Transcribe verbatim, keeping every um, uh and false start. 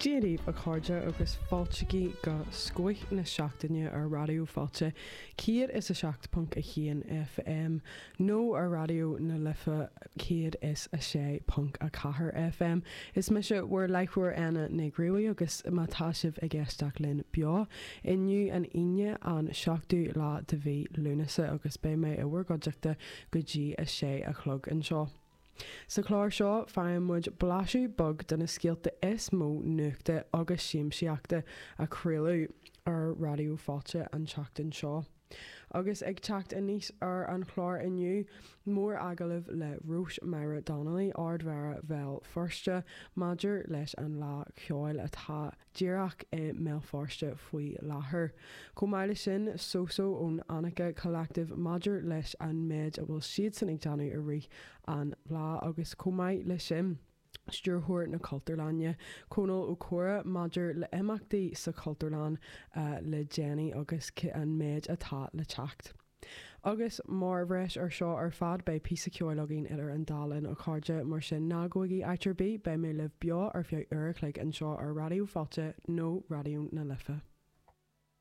Dia daoibh a chairde agus fáilte go Scoth na Seachtaine ar Raidió Fáilte céad is a seacht ponc a haon FM nó ar Raidió na Life céad is a sé ponc a ceathair FM. Is mise bhur láithreoir Anna Ní Ghruaí agus má tá sibh ag éisteacht linn beo inniu an Aoine an seachtú lá de mhí Lúnasa agus beidh mé i bhur gcuideachta go dtí a sé a chlog anseo. Sa chlár seo faigheann muid blaiseadh beag de na scéalta is mó nuachta agus siamsaíochta a craoladh ar Raidió Fáilte an tseachtain seo. Agus ag teacht aníos ar an chlár inniu mór-agallamh le Róis-Máire Donnelly Ard-Mhéara Bhéal Feirste maidir leis an lá ceoil atá díreach i mBéal Feirste faoi láthair. Chomh maith leis sin Soso ón Annika Collective maidir leis an méid a bhfuil siadsan ag déanamh i rith an lá agus chomh maith leis sin. Stiúrthóir na Cultúrlainne Conall Ó Cora maidir le imeachtaí sa Chultúrlann uh, le déanaí agus an méid atá le teacht. Agus mar bhreis ar seo ar fad beidh píosa ceoil againn idir an dá linn a chairde mar sin ná gabhaigí áit ar bith beidh mé libh beo ar feadh uair a chloig anseo ar Raidió Fáilte nó Raidió na Life.